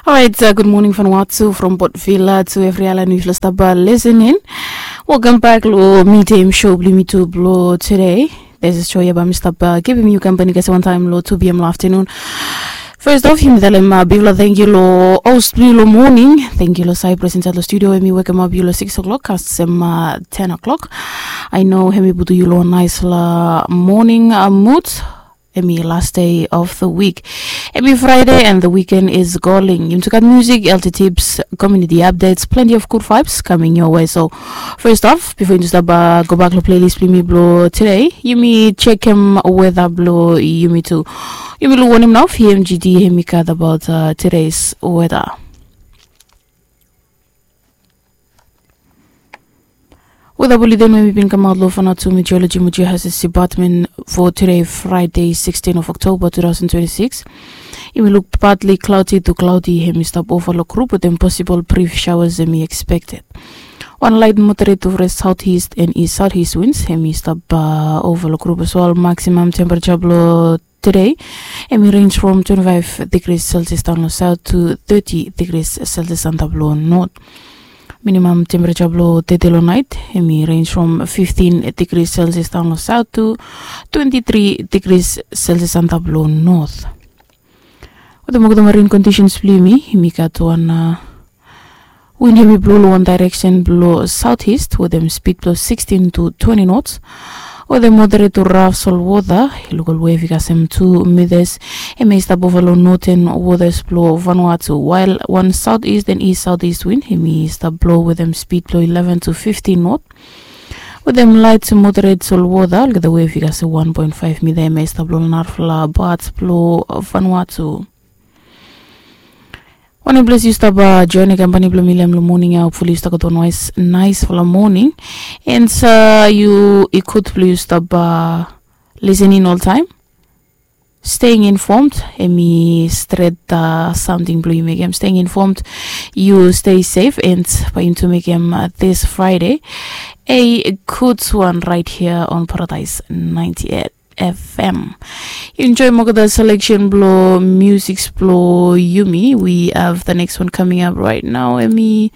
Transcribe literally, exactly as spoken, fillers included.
Alright, uh, good morning from Watsu, from Port Vila to every island we stop uh, listening. Welcome back lo midday show bli mi tu blo today. This is show yaba mi stop uh, giving you company kasi one time lo two p.m. lo afternoon. First off, yumi talem uh, big lo thank you lo host bli lo morning. Thank you lo Cyprus inside lo studio. Emi wake up big lo six o'clock. Kasem uh, ten o'clock. I know hemi butu you lo nice la morning uh, mood. Emi last day of the week. Emi Friday and the weekend is calling. Yumi tu gat music, L T tips, community updates, plenty of good vibes coming your way. So first off, before you stop uh, go back to playlist bli mi blo today, yumi check him weather blo yumi tu. Yumi lo warn him now, P M G D, hemi gat about uh, today's weather. Weather bulletin we mi bin kamaot lo Vanuatu Meteorology mo Geohazards Department for today, Friday, sixteen of October two thousand twenty-six. Yumi luk partly cloudy to cloudy, hemi stap ova lo group wetem possible brief showers hemi expected. Wan light moderate to fresh southeast and east southeast winds hemi stap uh, ova lo group as well. Maximum temperature blo today, hemi range from twenty-five degrees Celsius down lo south to thirty degrees Celsius antap lo north. Minimum temperature blo today lo night, hemi range from fifteen degrees Celsius down lo south to twenty-three degrees Celsius antap lo north. Wetem olgeta marine conditions blo yumi, yumi gat wan uh, wind hemi blo lo wan direction blo southeast wetem speed blo sixteen to twenty knots. Wetem moderate to rough salt water, i luk olwe i kasem two meters. Hemi stap ova lo northern waters blo Vanuatu, while wan southeast and east southeast wind hemi stap blo wetem speed blo eleven to fifteen knot. Wetem light to moderate salt water, olgeta we i kasem one point five meter, hemi stap lo narafala parts blo Vanuatu. Wanem ples yu stap uh, join company blo mi lo hem lo morning ya, hopefully yu stap gat wan nice, nice fala morning. And uh, yu i gud blo yu stap uh, listening all time. Staying informed, hemi stret uh, something blo yu mekem. Staying informed, yu stay safe, and bae yumi tu mekem uh, this Friday a good one right here on Paradise ninety-eight F M. Yu enjoy olgeta selection blo music blo yumi. We have the next one coming up right now. Hemi